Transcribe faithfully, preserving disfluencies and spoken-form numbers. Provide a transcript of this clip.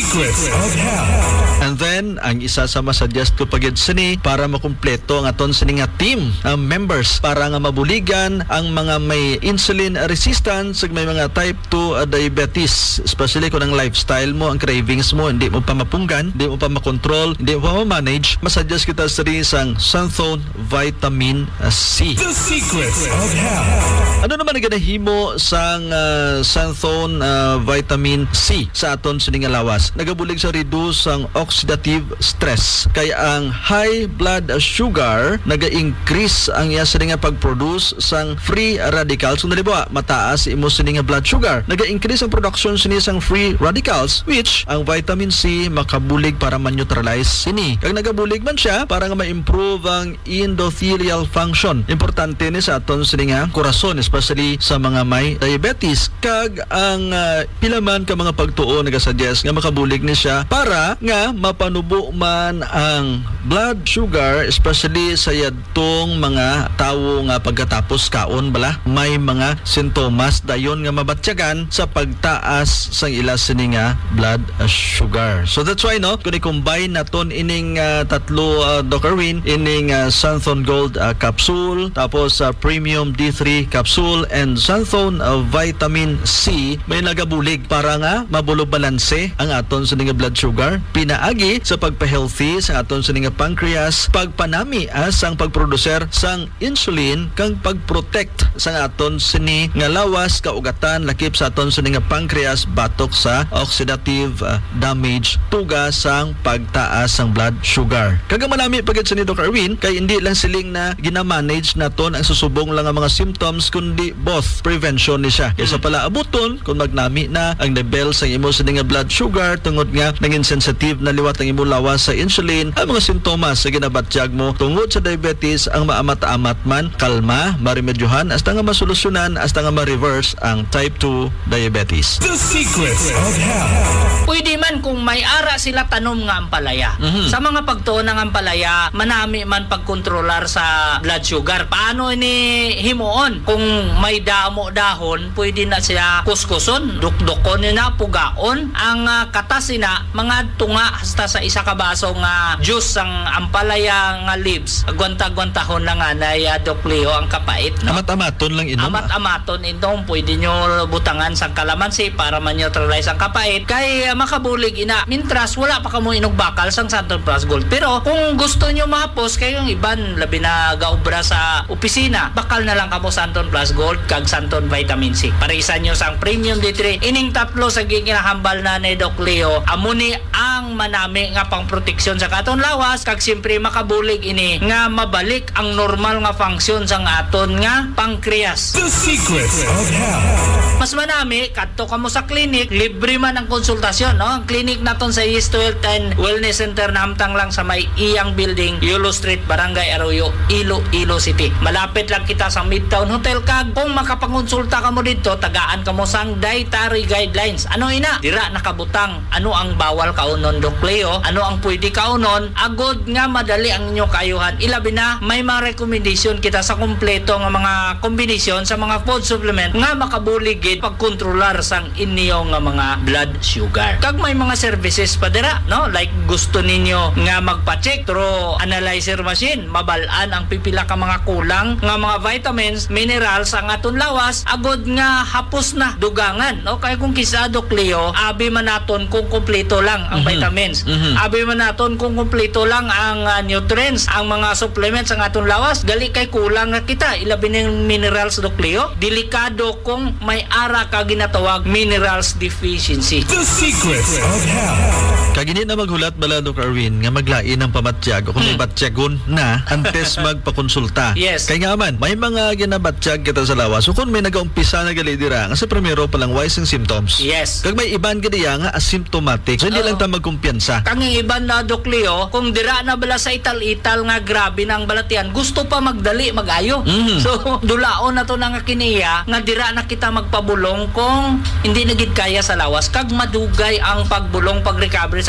Secrets of Health. And then, ang isa sa masuggest ko pa gid sini para makumpleto ang aton sini nga team, ang members, para nga mabuligan ang mga may insulin resistance, ug may mga type two diabetes, especially kung ang lifestyle mo, ang cravings mo, hindi mo pa mapunggan, hindi mo pa makontrol, hindi mo pa ma-manage, masuggest kita sini sang Santhone Vitamin C. The Secrets of Health. Ano naman ang ginahimo sang, ah, Santhone, ah, Vitamin C sa aton sini nga lawas? Nagabulig sa reduce sang oxidative stress. Kay ang high blood sugar naga-increase ang iya sini nga pag-produce sang free radicals. Kung halimbawa, mataas imo sini nga blood sugar, naga-increase ang production sini sang free radicals, which ang vitamin C makabulig para ma-neutralize sini. Kag nagabulig man siya para nga ma-improve ang endothelial function. Importante ni sa aton sini nga kurason, especially sa mga may diabetes. Kag ang, ah, pila man ka mga pagtuo nagasuggest nga makabulig ni siya para nga mapanubo man ang blood sugar, especially sa yadtong mga tawo nga pagkatapos kaon bala may mga sintomas dayon nga mabatyagan sa pagtaas sang ila sini nga blood, ah, sugar. So that's why, no, kung i-combine naton ining, ah, tatlo, ah, Doc Erwin, ining, ah, Santhon Gold, ah, capsule, tapos sa Premium D three capsule, and Santhon, ah, Vitamin C, may nagabulig para nga mabulo balanse ang aton sini nga blood sugar, pinaagi sa pagpa-healthy sa aton sini nga pancreas, pagpanami, ah, sang pagproduser sang insulin, kag pag-protect sang aton sini nga lawas, kaugatan, lakip sa aton sini nga pancreas batok sa oxidative, ah, damage, tuga sang pagtaas sang blood sugar. Kag ang malami pa gid sini, Doc Erwin, kay hindi lang siling na ginamanage naton ang susubong lang nga mga symptoms, kundi both prevention ni siya. Kaysa Mm. pala abuton kung magnami na ang level sang imo sini nga blood sugar, tungod nga nangin sensitive na liwat ang imo lawas sa insulin, ang mga sintomas sa ginabatyag mo tungod sa diabetes ang maamat-amat man, kalma, maremedyohan, hasta nga masolusyonan, hasta nga ma-reverse ang type two diabetes. The Secrets of Health. Pwede man kung may ara sila tanom nga ampalaya. Mhm. Sa mga pagtuon ng ampalaya, manami man pagkontrolar sa blood sugar. Paano ini himuon? Kung may damo dahon, pwede na siya kuskuson, dukdukon niyo na, pugaon. Ang, ah, katas ina, mga tunga hasta sa isa ka baso nga juice sang ampalaya nga leaves. Agwanta-agwantahon lang anay, ah, Doc Leo, ang kapait, no? Amat-amaton lang inom, ah. Amat-amaton inom. Pwede nyo butangan sang kalamansi para ma-neutralize ang kapait. Kay, ah, makabulig ina. Mintras, wala pa kamo inugbakal sang Santon Plus Gold. Pero kung gusto nyo mahapos, kay yung iban, labi na gaobra sa opisina, bakal na lang kamo Santon Plus Gold kag Santon Vitamin C. Parisan nyo sang Premium D three. Ining tatlo sa ginahambal na ni Doc Leo, amo ni ang manami nga pangproteksyon sa katon lawas, kag siyempre makabulig ini nga mabalik ang normal nga function sang aton nga pancreas. The Secrets of Health. Mas manami, kadto kamo sa clinic, libre man ang konsultasyon, no? Ang clinic naton sa East Health and Wellness Center nahamtang lang sa may Iyang Building, Yulo Street, Barangay Arroyo, Iloilo City. Malapit lang kita sa Midtown Hotel, kag kung makapangonsulta kamo didto, tagaan kamo sang dietary guidelines. Ano ina? Dira nakabutang ano ang bawal kaunon, Doc Leo, ano ang pwede kaunon, agod nga madali ang inyo kaayuhan. Ilabi na, may mga recommendation kita sa kompleto nga mga kombinasyon sa mga food supplement nga makabulig gid pagkontrolar sang inyo nga mga blood sugar. Kag may mga services pa dira, no? Like, gusto ninyo nga magpa-check through analyzer machine, mabal-an ang pipila ka mga kulang nga mga vitamins, minerals ang aton lawas, agod nga hapos na dugangan, no? Kay kung kisa, Doc Leo, abi man naton kung kompleto lang ang Mhm. vitamins. Mhm. Abi man naton kung kompleto lang ang, ah, nutrients, ang mga supplements ang aton lawas, gali kay kulang na kita, ilabi ning minerals, Doc Leo. Delikado kung may ara ka ginatawag minerals deficiency. The Secrets of Health. Kag hindi na maghulat bala, Doc Erwin, nga maglain ang pamatyag o kung may Hmm. batyagon na antes magpakonsulta. Yes. Kay nga man, may mga ginabatyag kita sa lawas. So kung may nagaumpisa na gali dira, nga sa primero pa lang, way sing symptoms. Yes. Kag may iban gid iya nga asymptomatic. So hindi Oo. lang ta magkumpiyansa. Kang iban na, Doc Leo, kung dira na bala sa ital-ital nga grabe na ang balatian, gusto pa magdali, mag-ayo. Mhm. So, dulaon na to na nga kiniya, nga dira na kita magpabulong kung hindi na gid kaya sa lawas. Kag madugay ang pagbulong, pag-recovery sa